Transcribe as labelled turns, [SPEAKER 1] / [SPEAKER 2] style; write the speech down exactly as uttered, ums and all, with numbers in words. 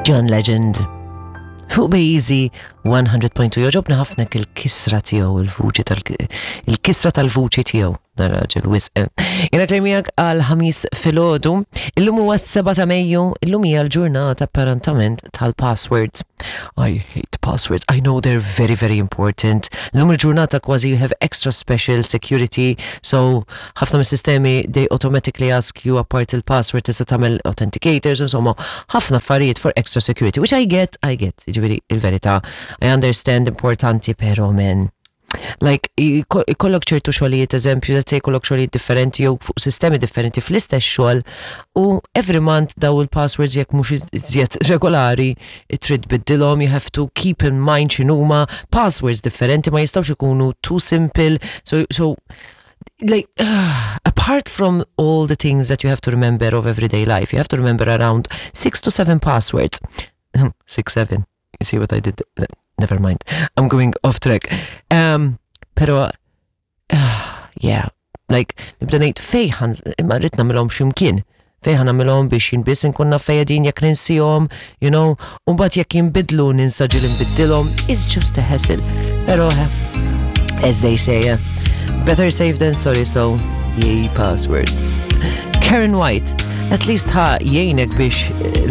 [SPEAKER 1] John Legend. Fuq Bejzi one hundred point two jogħġobni ħafna il-kisra tiegħu, il-vuċi tal il-kisra tal-vuċi tiegħu. Raġel wisq. Jiena miegħek għal Ħamis filgħodu. Illum huwa s-sebgħa ta' Mejju, illum hija l-ġurnata apparentament tal-passwords. I hate passwords. I know they're very, very important. Illum il-ġurnata kważi you have extra special security, so ħafna mis-sistemi, they automatically ask you apart il-password, tista' tagħmel authenticators, insomma, ħafna affarijiet for extra security, which I get, I get. Ġifieri il-verità, I understand, importanti, pero men. Like, ikollok ċertu xogħlijiet, eżempju, let's say ikollok xogħlijiet differenti jew fuq sistemi differenti fl-istess xogħol u every month daw il-passwords, jekk mhux iżjed regolari, trid tbiddilhom, you have to keep in mind x'inhuma passwords differenti, ma jistgħux ikunu too simple. So so like uh, apart from all the things that you have to remember of everyday life, you have to remember around six to seven passwords. Six, seven. You see what I did? Never mind. I'm going off track. Um, pero, uh, yeah, like, nibda ngħid fejn, imma rrid nagħmilhom x'imkien. Fejn ħa nagħmilhom biex jien biss inkun naf fejn jekk ninsihom, you know, u mbagħad jekk jinbidlu ninsa ġieli nbiddilhom, it's just a hassle. Pero, as they say, uh, better safe than sorry, so yay passwords. Karen White, at least ħa jgħinek biex